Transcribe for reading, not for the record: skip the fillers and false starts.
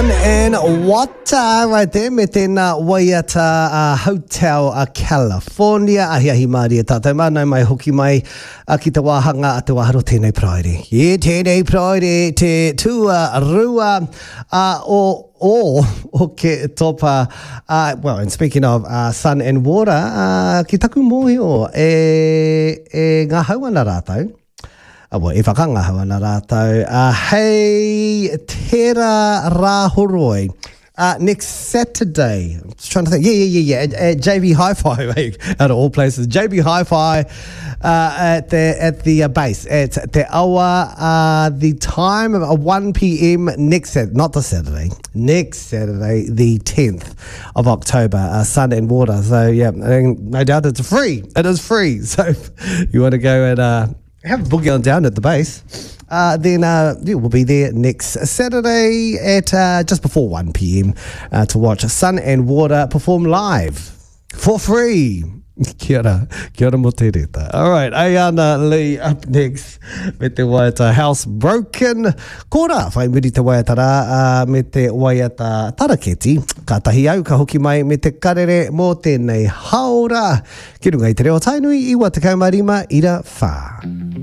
And water right there me tēnā waiata uh, Hotel a California. Ahiahi mārie tātou mā, nau mai hoki mai uh, ki te wāhanga a te wāharo tēnei Paraire. Yeah, tēnei Paraire te tua rua uh, o o o ke topa. Uh, well, and speaking of uh, sun and water, uh, ki taku mōhio e, e ngahau ana rātou. Awa, e whakangahau ana rātou. Uh, hei tērā Rāhoroi. Uh, next Saturday. I'm just trying to think. Yeah, yeah, yeah, yeah. At, at JB Hi-Fi, mate, out of all places. JB Hi-Fi uh, at the at the uh, base at Te Awa. Uh, the time of uh, 1 p.m. next Saturday, not this Saturday, next Saturday, the 10th of October. Uh, sun and water. So yeah, and no doubt it's free. It is free. So if you want to go and uh, have a boogie on down at the base, uh, then uh, yeah, we'll be there next Saturday at uh, just before 1 p.m. Uh, to watch Sun and Water perform live for free. Kia ora, kia ora mo te reta. All right, Ayana Lee up next me te waiata House Broken. Kora, whai muri te waiata rā uh, me te waiata taraketi. Kātahi au ka hoki mai me te karere mō tēnei haora. Ki runga i te reo Tainui, 95 ira whā.